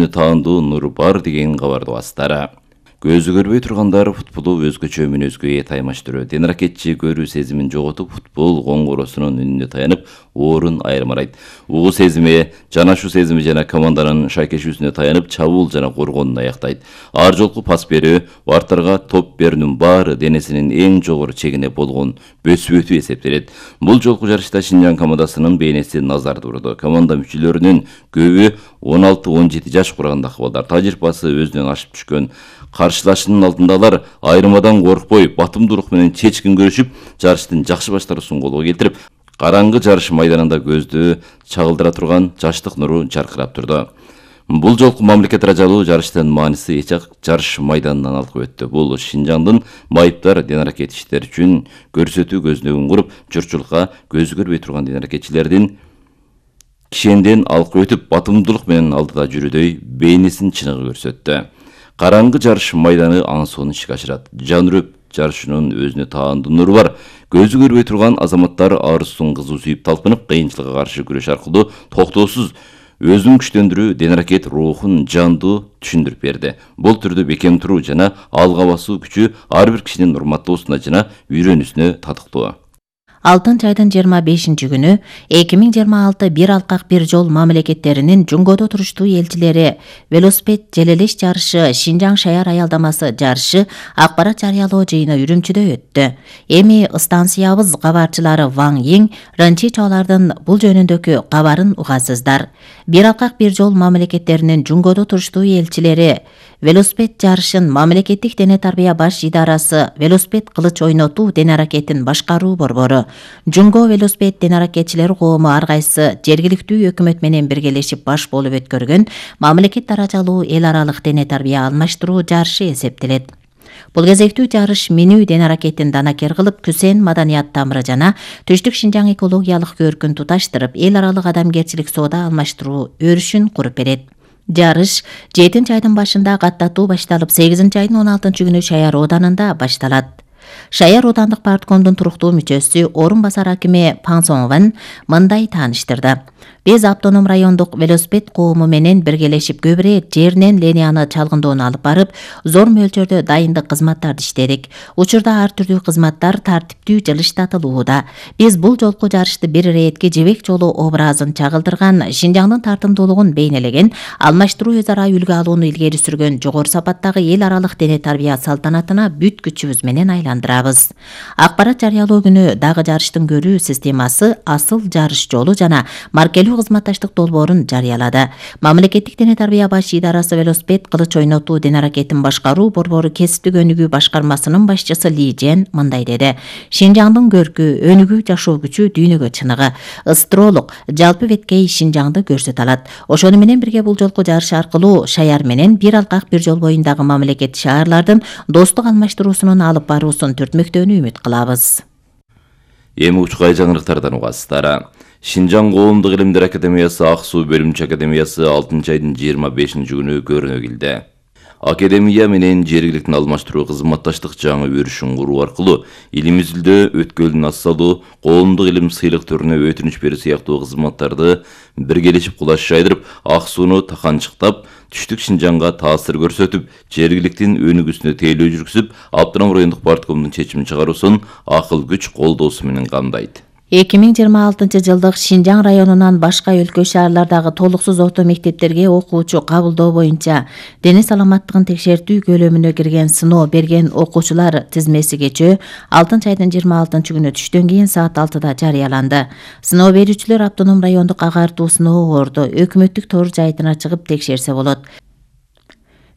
таандуу нур бар деген кабарды бастары. Көзү көрбөй тургандар футболу өзгөчө мүнөзгө ээ таймаштыруу. Денракетчи көрүү сезимин жоготуп, футбол коңгуросунун үнүнө таянып, орун айырмарайт. Угуу сезими, жанашуу сезими жана команданын шайкешүүсүнө таянып, чабуул жана коргоонун аяктайт. Ар жолку пас берүү, вартарга топ берүүнүн баары денесинин эң жогору чегине болгон бөсүп-өтүү эсептелет. Бул жолку жарышта Шинжаң командасынын бейнеси назарды урду. Команда мүчөлөрүнүн көбү 16-17 жаш курагындагы балдар. Тажрыйбасы өзүнөн ашып түшкөн каршылашынын алдындалар айырмадан коркпой, батымдуулук менен чечкин көрүшүп, жарыштын жакшы баштаруусун колго келтирип, караңгы жарыш майданында көздү чагылдыра турган жаштык нуру жаркырап турду. Бул жолку мамлекет ыраажалуу жарыштын мааниси эч-ак жарыш майданынан алкып өттү. Бул Шинжаңдын майыптар денракет иштери үчүн көрсөтүү көзүнөгүн куруп, журтчулукка көзү көрбөй турган денракетчилердин кишенден алкып өтүп, батымдуулук менен алдыда жүрүүдөй бейнесин чыныгы көрсөттү. Караңгы жарыш майданы аңсоонун ишке ашырат. Жан үрөп жарышынын өзүнө таандуу нуру бар. Көзү көрбөй турган азаматтар арыздын кызуу сүйүп талпынып, кыйынчылыкка каршы күрөш аркылуу токтоосуз өзүн күчтөндүрүү денракет рухун жандуу түшүндүрүп берди. Бул түрдө бекем туруу жана алга басуу күчү ар бир кишинин урматтоосуна жана үйрөнүүсүнө татыктуу. Алтын чайдын 25-күнү 2026 бир алкак бир жол мамлекеттеринин Жунгодо туруштуу элчилери велосипед желелеш жарышы Шинжаң шаяр аялдамасы жарышы акпарат жарыялоо жыйыны Үрүмчүдө өттү. Эми станциябыз кабарчылары Ваң Йиң Ранчи чоолардын бул жөнүндөгү кабарын угасыздар. Бир алкак бир жол мамлекеттеринин Жунгодо туруштуу элчилери велосипед жарышын мамлекеттик дене тарбия баш идарасы велосипед кылыч ойнотуу денаракетин башкаруу борбору Жунго велосипед денаракетчилер коому ар кайсы жергиликтүү өкмөт менен биргелешип баш болуп өткөргөн мамлекет даражалуу эл аралык дене тарбия алмаштыруу жарышы эсептелет. Бул кезектүү жарыш минүү денаракетин данакер кылып, күсен маданият тамыры жана түштүк Шинжаң экологиялык көркүн туташтырып, эл аралык адамгерчилик соода алмаштыруу өрүшүн куруп берет. Жарыш 7 айдын башында каттатуу башталып, 8 айдын 16 күнү Шаяр Оданында башталат. Шаяр Оодандык парткомдун туруктуу мүчөсү, орун басар акими Пан Сонгван мындай тааныштырды. Биз автоном райондук велосипед коому менен биргелешип көбүрөөк жеринен линияны чалгындоону алып барып, зор мөлчөрдө дайындык кызматтарды иштедик. Учурда ар түрдүү кызматтар тартиптүү жылыштатылууда. Биз бул жолку жарышты бир иретки жебек жолу образын чагылдырган, Шинжаңдын тартымдуулугун бейнелеген, алмаштыруу өз ара үлгү алууну илгери сүргөн жогору сапаттагы эл аралык дене тарбия салтанатына бүт күчүбүз менен айландырабыз. Акпарат жарыялоо күнү дагы жарыштын көрүү системасы, асыл жарыш жолу жана маркелүү кызматташтык долбоорун жарыялады. Мамлекеттик дене тарбия баш идарасы велосипед кылыч ойнотуу денаракетин башкаруу борбору кесиптик өнүгүү башкармасынын башчысы Ли Жен мындай деди. Шинжаңдын көркү, өнүгүү жашоо күчү дүйнөгө чыныгы, ыстролук, жалпы беткей Шинжаңды көрсөтө алат. Ошону менен бирге бул жолку жарыш аркылуу Шаяр менен бир алкак бир жол боюндагы мамлекет шаарлардын достук алмаштыруусунун алып баруусун түртмөктөөнү үмүт кылабыз. Эми учкай жаңырыктардан угасыздар. Шинжаң коомдук илимдер академиясы Ак суу бөлүмчө академиясы 6 айдын 25 күнү көрүнө келди. Академия менен жергиликтин алмаштыруу кызматташтык жаңы өрүшүн куруу аркылуу илим изилдөө, өткөлдүн ассалуу, коомдук илим сыйлык түрүнө өтүнүч берүү сыяктуу кызматтарды биргелешип кулаш жайдырып, ак сууну таканчыктап, түштүк Шинжаңга таасир көрсөтүп, жергиликтин өнүгүүсүнө тейлөө жүргүзүп, Автоном райондук парткомдун чечим чыгаруусун акыл күч колдоосу менен камдайт. 2026 жылдык Шинжаң районунан башка өлкө шаарлардагы толуксуз орто мектептерге окуучу кабылдоо боюнча дене саламаттыгын текшертүү көлөмүнө кирген сыноо берген окуучулар тизмеси кечээ 6 айдын 26 күнү түштөн кийин саат 6-да жарыяланды. Сыноо берүүчүлөр автоном райондук агартуу сыноо орду өкмөттүк тор жайтына чыгып текшерсе болот.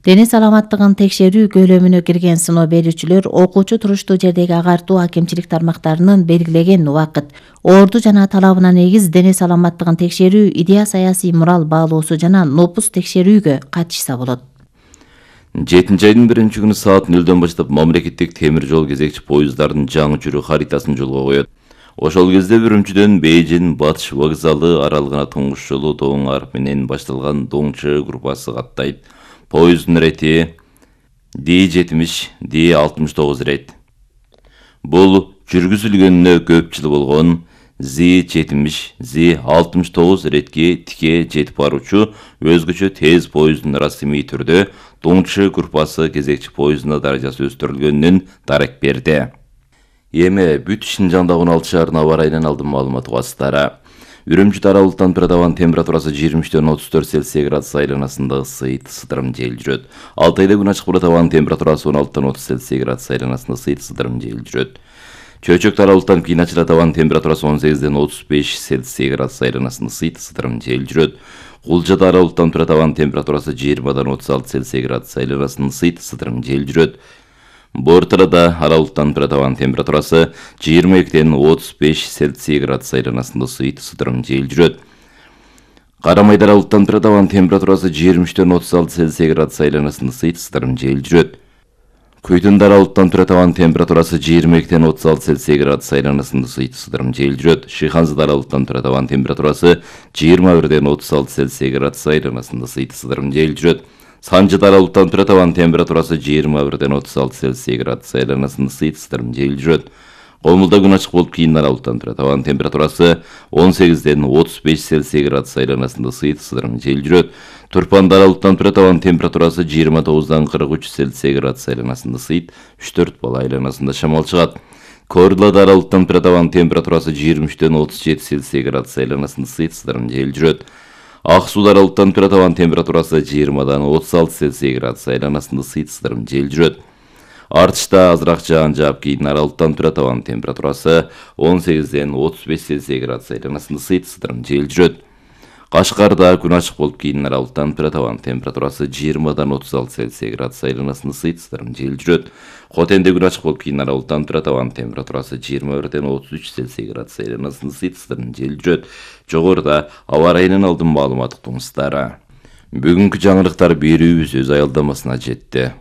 Дене саламаттыгын текшерүү көлөмүнө кирген сыноо берүүчүлөр окуучу туруштуу жердеги агартуу акимчилик тармактарынын белгилеген убакыт, орду жана талабына негиз дене саламаттыгын текшерүү, идея саясий мурал баалоосу жана нопус текшерүүгө катышса болот. 7 айдын 1 күнү саат 0-дөн баштап мамлекеттик темир жол кезекчи поезддардын жаңы жүрүү харитасын жолго коет. Ошол кезде Үрүмчүдөн Бейжин Батыш вокзалы аралыгына туңгуш жолу Доң арып менен башталган Доңчы группасы каттайт. Поезддун рети D70, D69 рет. Бул жүргүзүлгөнүнө көп жыл болгон Zi-70, Zi-69 иретке тике жетип баруучу өзгөчө тез поезддун расмий түрдө Доңчу группасы кезекчи поездуна даражасы өстүрүлгөнүнөн дарек берди. Эми бүт Шинжаңда 16 шаарынын аба ырайынан алдын маалымат угасыздары. Үрүмчү Дара булуттан абадын температурасы 23-төн 34 Цельсий градус айланасында ысыйт, сыдырым жел жүрөт. Алтайда күн ачык абадын температурасы 16-тан 30 Цельсий градус айланасында ысыйт, сыдырым жел жүрөт. Чөйчөк Дара булуттан кийин ачылат, абадын температурасы 18-ден 35 Цельсий градус айланасында ысыйт, сыдырым жел жүрөт. Кулжа Дара булуттан абадын температурасы 20-дан 36 Цельсий градус айланасында ысыйт, сыдырым жел жүрөт. Бортырада аралыктан абадын температурасы 22-ден 35 Цельсий градус айланасында ысыйт, сыдырым жел жүрөт. Карамайда аралыктан абадын температурасы 23-ден 36 Цельсий градус айланасында ысыйт, сыдырым жел жүрөт. Көйтүндө аралыктан абадын температурасы 22-ден 36 Цельсий градус айланасында ысыйт, сыдырым жел жүрөт. Шыйханзада аралыктан абадын температурасы 21-ден 36 Цельсий градус айланасында ысыйт, сыдырым жел жүрөт. Санжыда аралыктан абадын температурасы 21-ден 36 Цельсий градус айланасында ысыйт, сыдырым жел жүрөт. Комулда күн ачык болуп, кийин аралыктан абадын температурасы 18-ден 35 Цельсий градус айланасында ысыйт, сыдырым жел жүрөт. Турпанда аралыктан абадын температурасы 29-дан 43 Цельсий градус айланасында ысыйт, 3-4 бала айланасында шамал чыгат. Корлада аралыктан абадын температурасы 23-ден 37 Цельсий градус айланасында ысыйт, сыдырым жел жүрөт. Ак Сууда аралыктан абадын температурасы 20-дан 36 Цельсий градус айланасында ысыйт, сыдырым жел жүрөт. Артышта азыраак жаан жаап, кийин аралыктан абадын температурасы 18-ден 35 Цельсий градус айланасында ысыйт, сыдырым жел жүрөт. Кашкарда күн ачык болуп, кийин аралыктан абадын температурасы 20-дан 36 Цельсий градус айланасында ысыйт, сыдырым жел жүрөт. Хотенде күн ачык болуп, кийин аралыктан абадын температурасы 21-ден 33 Цельсий градус айланасында ысыйт, сыдырым жел жүрөт. Жогоруда аба ырайынан алдын маалымат уктуңуздар. Бүгүнкү жаңылыктар берүүбүз өз аялдамасына жетти.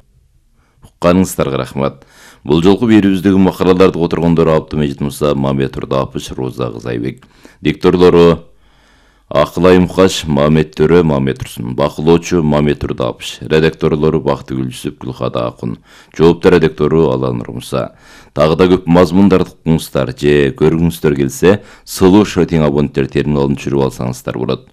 Укканыңыздарга рахмат. Бул жолку берүүбүздөгү макалаларды которгондор Абдымежит Муса, Мамет Турдапыш, Роза Кызайбек. Дикторлору Акылай Мукаш, Мамет Төрө, Мамет Турсун. Бакылоочу Мамет Турдапыш. Редакторлору Бактыгүл Жүсүп, Гүлхада Акун. Жооптор редактору Алан Румса. Дагы да көп мазмундарды укуңуздар же көргүңүздөр келсе, сылуу шотинг абоненттер терминалын түшүрүп алсаңыздар болот.